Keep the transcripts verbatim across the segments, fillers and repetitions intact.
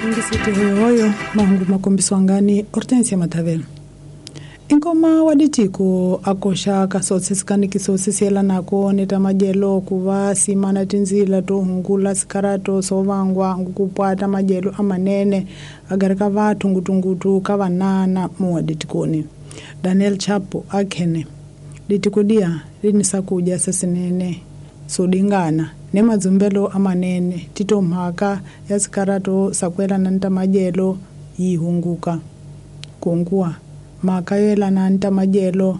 Ngisiti hoyohoyo mahungu makombiswangani Hortensia Mathavela. Inkoma wa ditiko akosha kasotse sikanikiso sisielanako ni ta madyelo ku va simana tindzila to hungula sikarato swo vangwa ngukupwata madyelo amanene agari ka vathu ngutungutu ka vanana muwa ditikoni. Daniel Chapo akhene ditiko dia ri sakudya sesinene sodingana ne madzumbelo amanene tito mhaka ya sikarato sakwelana ni ta madyelo yi hunguka kunguwa mhaka yo yelana ni ta madyelo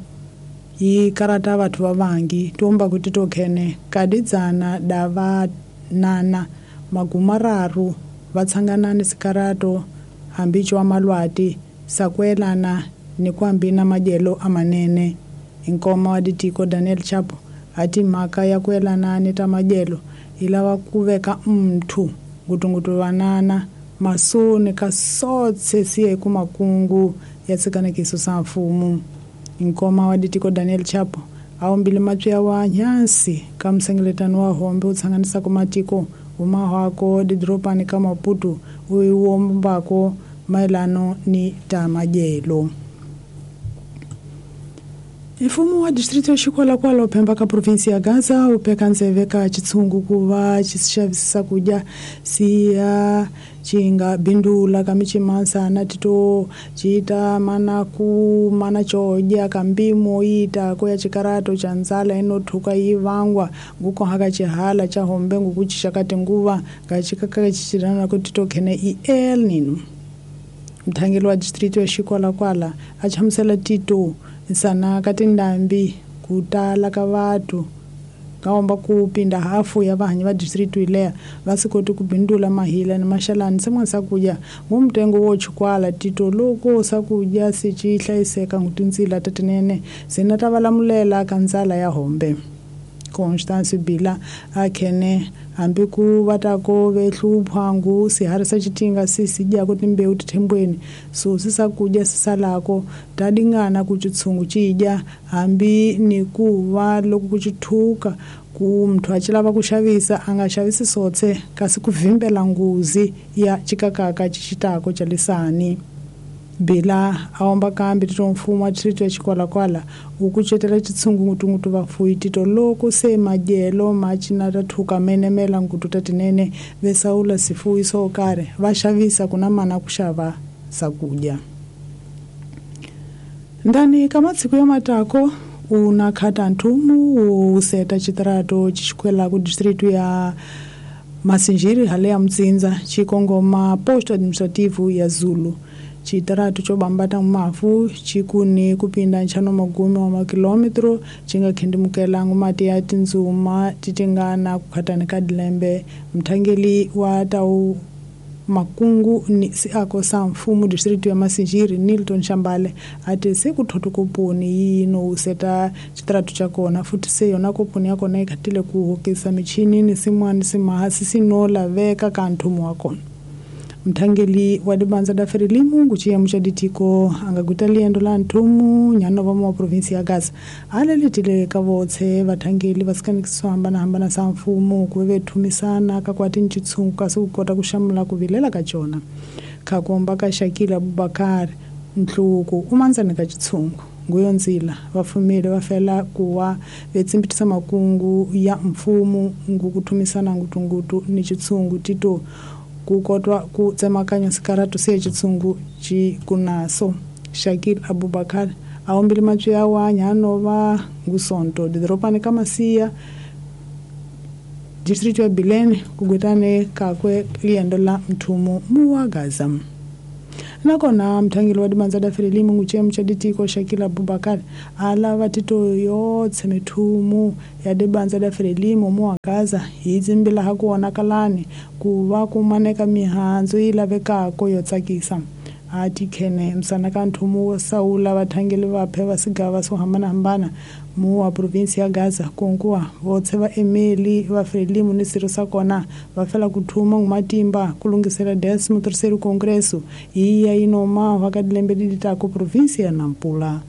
yi karata vathu va vangi tomba ku tito khene kadidzana da vanana magumararu va tshangana ni sikarato hambi cwa malwati sakwelana ni ku na madyelo amanene. Inkoma wa ditiko Daniel Chapo ati mhaka ya ku yelana ni ta madyelo yi lava ku veka mthu ngutungutu vanana masoni ka sotse siye ku makungu ya tshikanekiso sa mfumo. Inkoma wa ditiko Daniel Chapo a ombile matswi wa nyansi ka msengeletano wa hombe u tshanganisako matiko umahwako didropani ka Maputo uiwombako maelano ni ta madyelo. Mfumo wa distrito ya Chikwalakwala uphemba ka provinsi ya Gaza upeka nzeve ka chitsungu kuva chisixavisa kudya siya chinga bindula ka michimansa na tito chita mana ku mana chodya ka mpimo ita ko ya chikarato cha ndzala inothuka yi vangwa ngukohaka chihala cha hombe ngukuchixaka tinguva ka chikaka chichirana ku tito khene i El Nino. Mthangeli wa distrito ya Chikwalakwala a chamusela tito nsana ka tindhambi ku tala ka vathu kaomba ku pinda hafu ya vahanyi va district ileya va swi koti ku bindula mahila ni maxalani sin'wana swakudya ngumtengo wo chukwala tito loko swakudya swi ci hlayiseka ngutindzila ta tinene sina ta valamulela ka ndzala ya hombe. Constance Bila akhene hambi ku va ta ko ve hluphangu swiharhi swa xitinga si si dyaka timbewu tithembweni so swi swakudya swi salako ta dingana ku chitshungu ci dya hambi ni ku va loko ku chithuka ku muthu a ci lava ku xavisa a nga xavisi sotse kasi ku vimbela nghozi ya chikakaka xixitako xa lisani. Bila a omba kambi tito mfumo wa distrito ya Chikwalakwala wu kucetela chitsungu ngutungutu vafuyi tito loko se madyelo ma cina ta thuka menemela ngutu ta tinene vesaula sifuyi swo karhi va xavisa ku na mana ku xava swakudya. Ndani ka matsiku ya matako una khata nthumu wu seta chitirato xikwela ku distrito ya Masinjiri hale ya Mtsinza chikongoma posto administrativo ya Zulu. Chitarato cho bambata mafu chikuni kupinda nchano magume wa makilometro chinga khendimukela ngumati ya tindzuma titingana kukhatani ka dilembe. Mthangeli wa tau makungu ni siako sa mfumo district ya Masinjiri Nilton Shambale ati se kuthoto koponi yino useta chitarato cha kona futhi se yona koponi ya kona ikhatile ku hokisa michini ni simwani simahasi sinola veka ka nthumo wa kona. Mthangeli wa dibanza da Frelimo nguchiya muchaditiko angaguta liendo la nthumu nyano va wa provinsi ya Gaza alelitile ka votse vathangeli va sikanikiswa hambana hambana sa mfumo ku ve thumisana ka kwati ntshungu kasi ku kota ku xamula ku vilela ka cona khakomba ka Shakila Abubakar Nhluku umanzani ka chitshungu nguyo ndzila vafumile va fela kuwa vetsimbitisa makungu ya mfumo ngukuthumisana ngutungutu ni chitshungu tito ku kotwa ku tsemakanya sikaratu siye chitsungu chikunaso. Shakil Abubakar aombile matswi ya wa nyano va ngusonto didropani ka Masiya district ya Bilene kugwetane kakwe liendo la mthumu muwa Gaza. Nakona mthangeli wa dibanza da Frelimo nguchemu cha ditiko Shakila Abubakar alava tito yotse mithumu ya dibanza da Frelimo muwa Gaza hi tsimbila ha ku onakalani ku va ku maneka mihandzu yi lavekako yo tsakisa. Ati khene msana ka nthumu wo sawula vathangeli vaphe va sigava swo hambanahambana mu wa provinsi ya Gaza konkuwa votse va emeli va Frelimo ni swirho swa kona va fela ku thuma ngumatimba ku lunghisela décimo terceiro congresso yi ya yinoma va ka dilembe leti taka provinsi ya Nampula.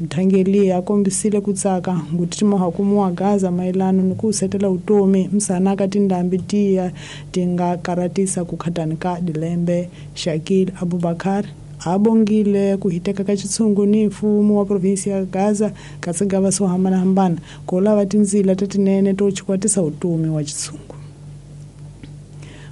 Mthangeli a kombisile ku tsaka ngutitimoha kumuwa Gaza mayelano ni ku setela utomi msana ka tindhambi tiya ti nga karatisa ku khatani ka dilembe. Shakil Abubakar abongile ku hiteka ka xitshungu ni mfumo wa provinsi ya Gaza ka tsigava swo hambanahambana ku lava tindzila tetinene to chikwatisa utomi wa xitshungu.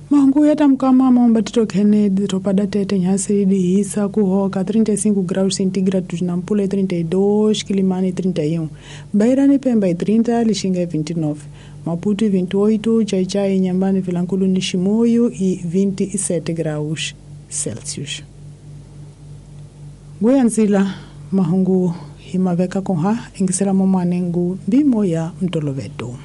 Mahungu ya tamukama maomba Tito Kennedy topada tete nhasi dihisa kuhoka trinta e cinco graus centígrados na Nampula trinta e dois, Quilimane trinta e um, Beirani Pemba trinta, Lixinga vinte e nove, Maputo vinte e oito, Chaichai, Inhambane, Vilanculo, Nishimoyo e vinte e sete graus Celsius. Goianzila mahungu himaveka konha ingisela momanengu mbimo ya mtoloveto.